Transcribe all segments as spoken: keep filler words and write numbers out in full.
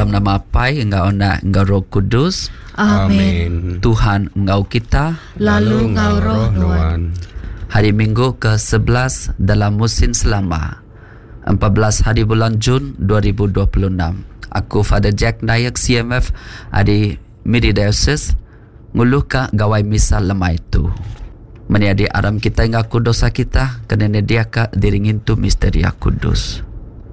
Dalam nama Apai enggau Anak enggau Roh Kudus. Amin. Tuhan enggau kita, lalu enggau roh nuan. Hari Minggu ke sebelas dalam musim selama, empat belas hari bulan Jun dua ribu dua puluh enam. Aku Father Jack Nayak C M F ari Miri Diocese nguluka gawai misa lemai tu. Meniadi aram kita ngaku dosa kita kena nyediaka diri ngintu misteri kudus.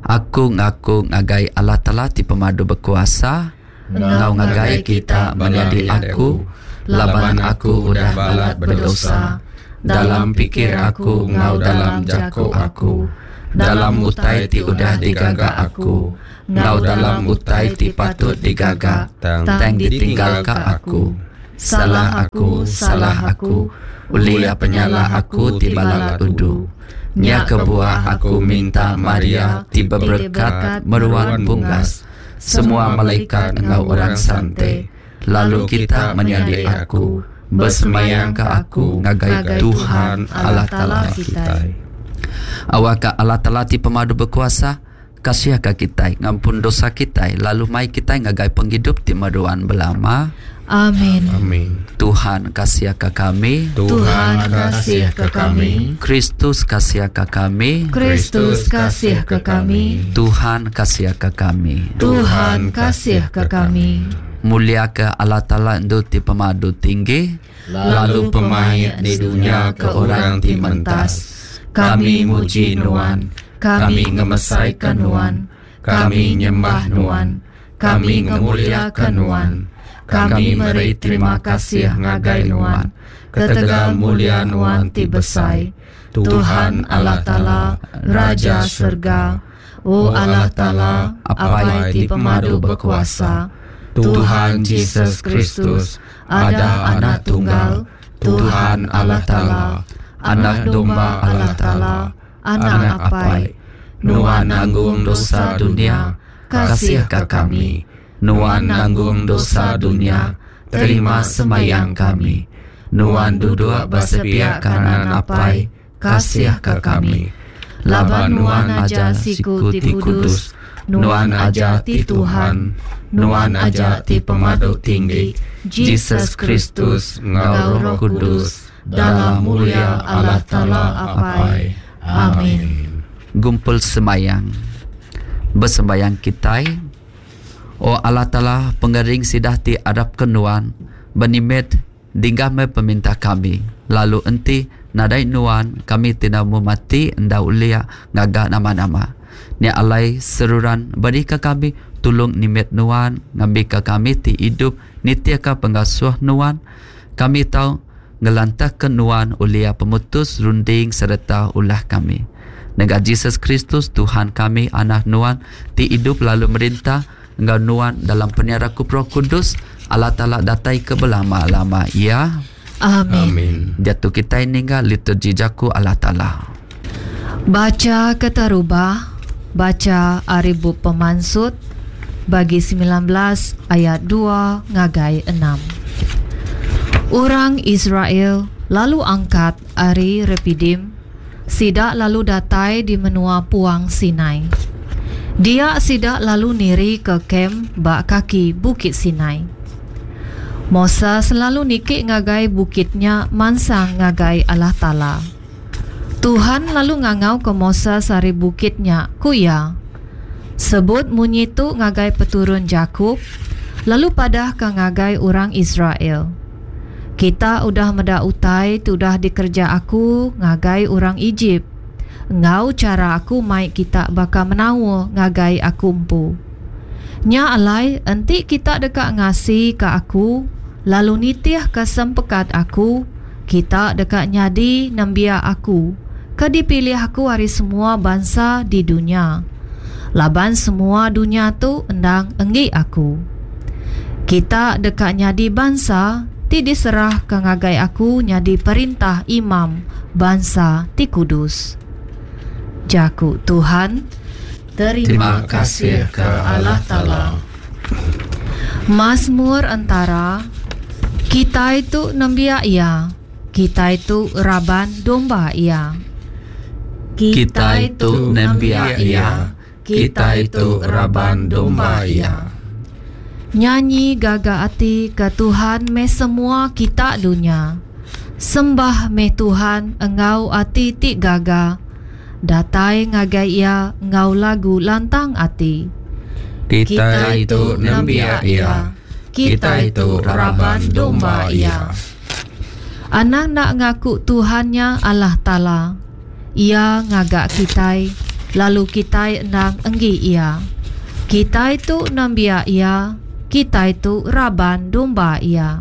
Aku ngaku ngagai Allah Taala ti pemadu berkuasa ngau ngagai kita menyadi aku laban aku udah balat berdosa dalam pikir aku ngau dalam jaku aku, dalam utai ti udah digaga aku ngau dalam utai ti patut digaga tang ditinggalka aku. Salah aku, salah aku, ulia penyalah aku ti balat udu. Nya kebuah aku minta Maria ti berberkat meruan bunggas, semua malaikat enggau orang sante, lalu kita menyadi aku, bersemayang ke aku ngagai Tuhan Allah Taala kita. Awak Allah Taala ti pemadu berkuasa, kasih ke kita, ngampun dosa kita, lalu mai kita ngagai penghidup ti meruan belama. Amin. Amin. Tuhan kasih ke kami. Tuhan kasih ke kami. Kristus kasih ke kami. Kristus kasih ke kami. Tuhan kasih ke kami. Tuhan kasih ke kami. Mulia ke Allah Taala endu ti pemadu tinggi, lalu pemaik di dunia ke orang ti mentas. Kami muji nuan, kami ngemesaikan nuan, kami nyembah nuan, kami ngemuliakan nuan. Kami meri terima kasih ngagai nuan, ketegal mulia nuan ti besai. Tuhan Allah Taala, Raja Serga, O Allah Taala, Apai ti pemadu berkuasa, Tuhan Jesus Kristus, ada anak tunggal, Tuhan Allah Taala, anak domba Allah Taala, anak Apai, nuan nanggung dosa dunia, kasih ke kami. Nuan nanggung dosa dunia, terima semayang kami. Nuan duduk bersepiak kanan Apai, kasih ke kami. Laban nuan aja siku ti kudus, nuan aja ti Tuhan, nuan aja ti pemadu tinggi, Jesus Kristus enggau Roh Kudus, dalam mulia Allah Taala Apai. Amin. Gumpul semayang. Bersembayang kita. O Allah Taala pengering sidah ti adap ke nuan, benimet dinggah me peminta kami. Lalu enti nadai nuan, kami tidak mau mati enda ulia ngagak nama-nama. Nya alai seruran beri ke kami tulung nimet nuan, ngambil ke kami ti hidup nitia ke pengasuh nuan. Kami tahu ngelantah ke nuan ulia pemutus runding serta ulah kami. Dengan Jesus Kristus Tuhan kami, anak nuan ti hidup lalu merintah enggau nuan dalam penyeraku Roh Kudus, Allah Taala datai ke belama-lama. Ya. Amin. Amin. Jatuh kita ninggal liturgi jaku Allah Taala. Baca keterubah, baca ari bup Pemansut bagi sembilan belas ayat dua ngagai enam. Orang Israel lalu angkat ari Repidim, sidak lalu datai di menua Puang Sinai. Dia sidak lalu niri ke kem bak kaki Bukit Sinai. Moses selalu nikik ngagai bukitnya mansang ngagai Allah Taala. Tuhan lalu ngangau ke Moses ari bukitnya ku iya. Sebut munyi tu ngagai peturun Jakub, lalu padah ke ngagai orang Israel. Kita udah meda utai tu udah dikerja aku ngagai orang Egypt. Ngau cara aku mai kita baka menawa ngagai aku empu. Nya alai enti kita deka ngasi ke aku, lalu nitih ke sempekat aku, kita deka nyadi nembiak aku, ke dipilih aku ari semua bangsa di dunia. Laban semua dunia tu endang enggi aku. Kita deka nyadi bangsa ti diserah ke ngagai aku nyadi perintah imam bangsa ti kudus. Jaku Tuhan, terima, terima kasih ke Allah Taala. Mazmur antara kita itu nembiak ia, kita itu raban domba ia. Kita itu nembiak ia, kita itu raban domba ia. Nyanyi gaga ati ke Tuhan meh semua kita dunya. Sembah meh Tuhan enggau ati ti gaga. Datai ngagai iya enggau lagu lantang ati. Kita itu nembiak iya. Kita itu raban domba iya. Anang nak ngaku Tuhannya Allah Ta'ala. Ia ngagak kitai, lalu kitai endang enggi iya. Kitai tu nembiak iya, kitai tu raban domba iya.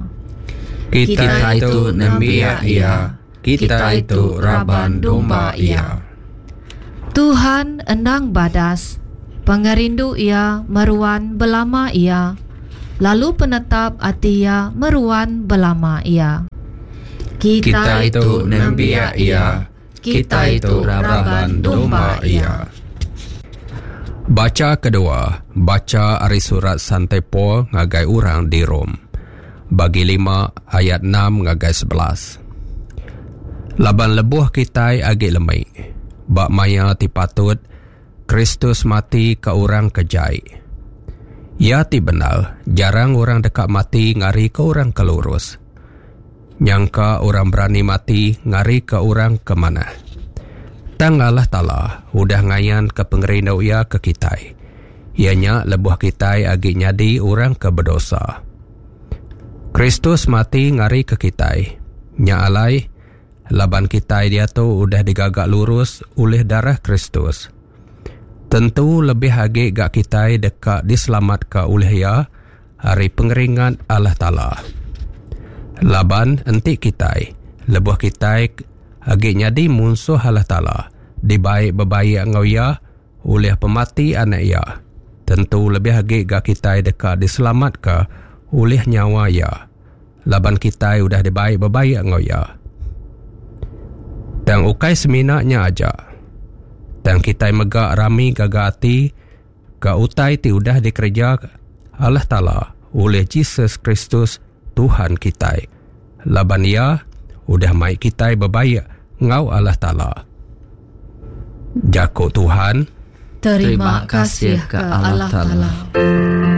Kita itu nembiak iya, kita itu raban domba iya. Tuhan endang badas, pengerindu iya meruan belama iya, lalu penetap ati iya meruan belama iya. Kita itu nembiak iya, kita itu raban domba iya. Baca kedua, baca ari surat Santai Paul ngagai orang di Rom. Bagi lima ayat enam ngagai sebelas. Laban lebuh kitai agi lemai, bak maya ti patut, Kristus mati ke orang kejai. Ia ti benar, jarang orang dekat mati ngari ke orang kelurus. Nyangka orang berani mati ngari ke orang ke mana. Tang Allah Ta'ala udah ngayan ke pengerindu ia ke kitai. Ianya lebuh kitai agi nyadi orang ke berdosa. Kristus mati ngari ke kitai. Nya alai, laban kitai dia tu udah digagak lurus oleh darah Kristus. Tentu lebih agi gak kitai dekat diselamat ke oleh ia hari pengeringat Allah Ta'ala. Laban enti kitai, lebuh kitai agi nyadi munsuh Allah Ta'ala, dibaik berbaik ngau ia oleh pemati anak ia. Tentu lebih agi gak kitai dekat diselamat ke oleh nyawa ia. Laban kitai udah dibaik berbaik ngau ia. Tang ukai seminaknya aja. Tang kitai megak rami gaga ati ke utai ti udah dikerja Allah Ta'ala oleh Jesus Kristus Tuhan kitai. Laban ia udah mai kitai berbaik ngau Allah Ta'ala. Jako Tuhan. Terima kasih ke Allah Ta'ala.